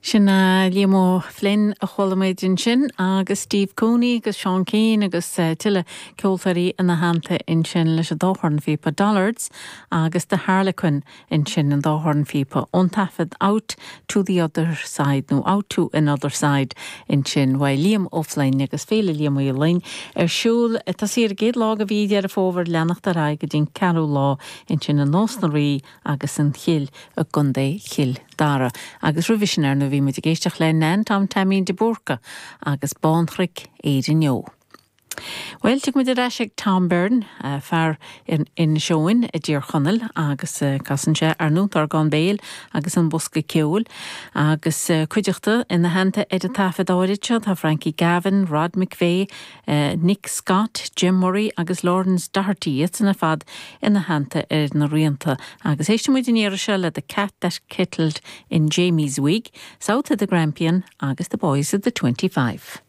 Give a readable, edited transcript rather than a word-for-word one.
Sin Liam Ó Floinn a chuala muid ansin agus Steve Cooney agus Seán Keane agus tuilleadh ceoltóirí ina theannta ansin leis an dá chornphíopa Dollards agus The Harlequin ansin an dá chornphíopa ón taifead Out to the Other Side nó Out to Another Side ansin uaidh Liam Ó Floinn agus Féile Liam Uí Fhloinn ar siúl tosaí ar an gcéad lá de mhí Dheireadh Fómhair leanacht ar aghaidh go dtí an ceathrú lá ansin in Nás na Rí agus an Chill i gContae Chill Dara. Agus roimhe sin, ar ndóigh, bhí muid ag éisteacht le Nan Tom Taimín de Búrca agus Bánchnoic Éireann Eo. Bhuel, tiocfaidh muid ar ais ag Tom Byrne, fear in Inis Eoghain i dTír Chonaill agus casann sé ar ndóigh an t-orgán béil agus an bosca ceoil agus cuideachta ina theannta ar an taifead áirid seo tá Frankie Gavin, Rod McVeigh, Nick Scott, Jim Murray agus Laurence Doherty, iadsan ar fad ina theannta ar na rianta. Agus éistfidh muid an iarraidh seo le The Cat That Kettled in Jamie's Wig, South of the Grampian agus The Boys of the 25.